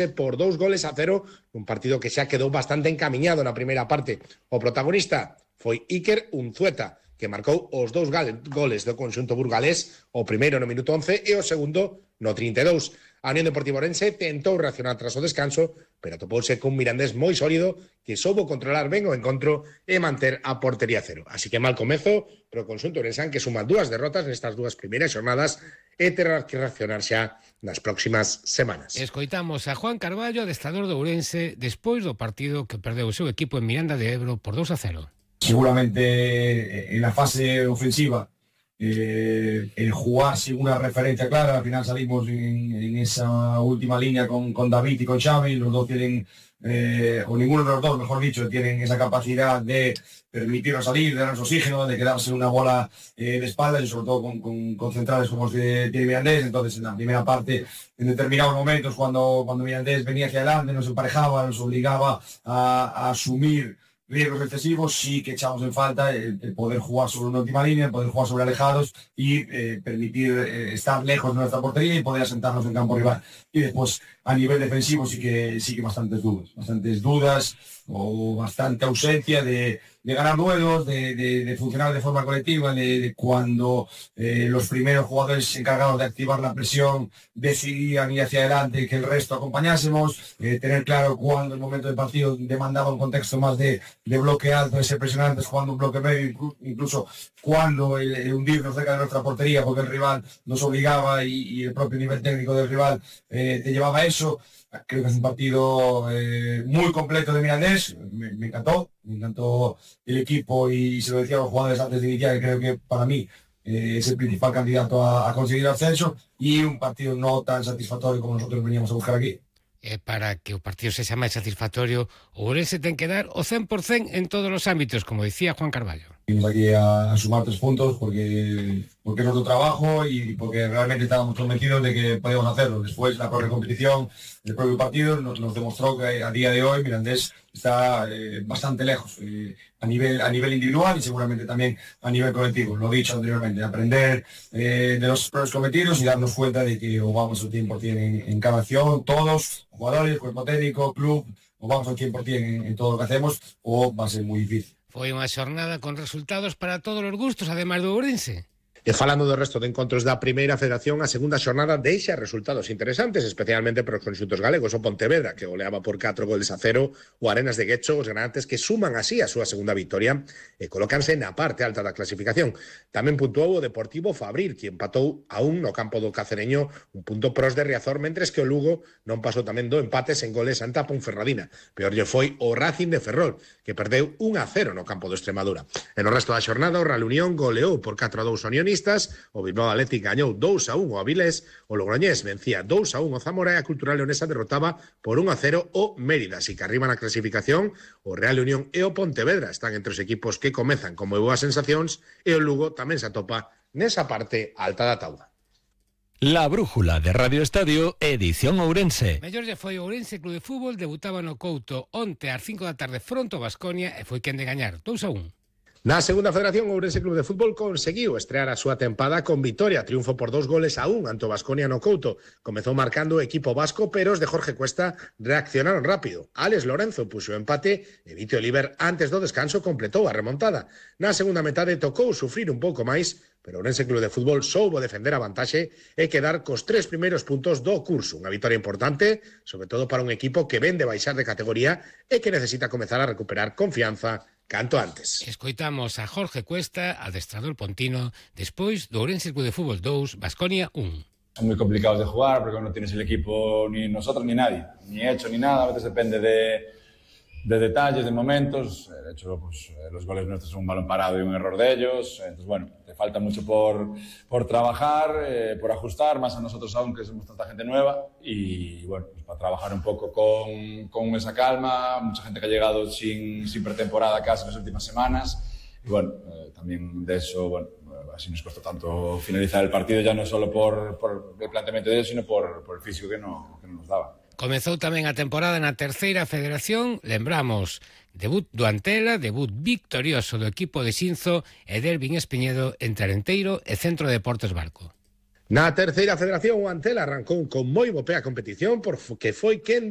por 2-0, un partido que xa quedou bastante encamiñado na primeira parte. O protagonista foi Iker Unzueta, que marcou os 2 goles do conxunto burgalés, o primeiro no minuto 11 e o segundo no 32. A Unión Deportiva Ourense tentou reaccionar tras o descanso, pero atopouse cun Mirandés moi sólido que soubo controlar ben o encontro e manter a portería cero. Así que mal comezo, pero o conxunto ourensán que suma 2 derrotas nestas 2 primeiras xornadas e terá que reaccionar xa nas próximas semanas. Escoitamos a Juan Carballo, adestrador do Ourense, despois do partido que perdeu o seu equipo en Miranda de Ebro por 2-0. Seguramente en la fase ofensiva el jugar sin una referencia clara. Al final salimos en esa última línea con David y con Xavi. Los dos tienen, o ninguno de los dos, mejor dicho, tienen esa capacidad de permitirnos salir, de darnos oxígeno, de quedarse una bola de espaldas y sobre todo con centrales como los que tiene Mirandés. Entonces en la primera parte, en determinados momentos, cuando Mirandés venía hacia adelante, nos emparejaba, nos obligaba a asumir riesgos excesivos, sí que echamos en falta el poder jugar sobre una última línea, el poder jugar sobre alejados y permitir estar lejos de nuestra portería y poder asentarnos en campo rival. Y después, a nivel defensivo, sí que bastantes dudas o bastante ausencia de ganar duelos, de funcionar de forma colectiva, de cuando los primeros jugadores encargados de activar la presión decidían ir hacia adelante y que el resto acompañásemos, tener claro cuando el momento del partido demandaba un contexto más de bloque alto, de ser presionantes, jugando un bloque medio, incluso cuando el hundirnos cerca de nuestra portería porque el rival nos obligaba y el propio nivel técnico del rival te llevaba a eso. Creo que es un partido muy completo de Mirandés, me encantó el equipo y se lo decía a los jugadores antes de iniciar, que creo que para mí es el principal candidato a conseguir el ascenso y un partido no tan satisfactorio como nosotros veníamos a buscar aquí. Para que o partido sexa máis satisfactorio, o Ourense ten que dar o 100% en todos os ámbitos, como decía Juan Carballo. Venimos aquí a sumar 3 puntos porque es nuestro trabajo y porque realmente estábamos convencidos de que podíamos hacerlo. Después la propia competición, el propio partido nos demostró que a día de hoy Mirandés está bastante lejos a nivel individual y seguramente también a nivel colectivo. Lo he dicho anteriormente, aprender de los errores cometidos y darnos cuenta de que o vamos al 100% en cada acción, todos, jugadores, cuerpo técnico, club, o vamos al 100% en todo lo que hacemos o va a ser muy difícil. Foi unha xornada con resultados para todos os gustos, ademais do Ourense. E falando do resto de encontros da primeira federación, a segunda xornada deixa resultados interesantes, especialmente para os conxuntos galegos. O Pontevedra, que goleaba por 4-0, o Arenas de Guecho, os granantes que suman así a súa segunda victoria e colócanse na parte alta da clasificación. Tamén puntuou o Deportivo Fabril, que empatou a 1 no campo do Cacereño, un punto pros de Riazor, mentres que o Lugo non pasou tamén do empate sen goles ante a Ponferradina. Peor lle foi o Racing de Ferrol, que perdeu 1-0 no campo do Extremadura. En o resto da xornada, o Real Unión goleou por 4-2 Unión, o Bilbao Athletic gañou 2-1 ao Avilés, o Logroñés vencía 2-1 o Zamora e a Cultural Leonesa derrotaba por 1-0 o Mérida. Así que arriba na clasificación, o Real Unión e o Pontevedra están entre os equipos que comezan con moi boas sensacións e o Lugo tamén se atopa nesa parte alta da tauda. La brújula de Radio Estadio, edición Ourense. Mellor lle foi o Ourense Club de Fútbol, debutaba no Couto onte ás 5 da tarde fronte ao Baskonia e foi quen de gañar 2-1. Na segunda federación, o Ourense Club de Fútbol conseguiu estrear a súa tempada con vitoria, triunfo por 2-1 ante o Baskonia no Couto. Comezou marcando o equipo vasco, pero os de Jorge Cuesta reaccionaron rápido. Alex Lorenzo puxo o empate e Vito Oliver antes do descanso completou a remontada. Na segunda metade tocou sufrir un pouco máis, pero o Ourense Club de Fútbol soubo defender a vantaxe e quedar cos 3 primeiros puntos do curso. Unha vitoria importante, sobre todo para un equipo que ven de baixar de categoría e que necesita comezar a recuperar confianza canto antes. Escoitamos a Jorge Cuesta, adestrador pontino, despois do Ourense Club de Fútbol 2, Baskonia 1. Son muy complicados de jugar porque no tienes el equipo ni nosotros ni nadie, ni hecho ni nada, a veces depende de detalles, de momentos. De hecho, pues, los goles nuestros son un balón parado y un error de ellos. Entonces, bueno, te falta mucho por trabajar, por ajustar, más a nosotros aún que somos tanta gente nueva. Y bueno, pues para trabajar un poco con esa calma, mucha gente que ha llegado sin pretemporada casi en las últimas semanas. Y bueno, también de eso, bueno, así nos costó tanto finalizar el partido, ya no solo por el planteamiento de ellos, sino por el físico que no nos daba. Comezou tamén a temporada na terceira federación, lembramos, debut do Antela, debut victorioso do equipo de Xinzo e Dervin Espiñedo entre Arenteiro e Centro de Deportes Barco. Na terceira federación, o Antela arrancou con moi bo pé a competición porque foi quen de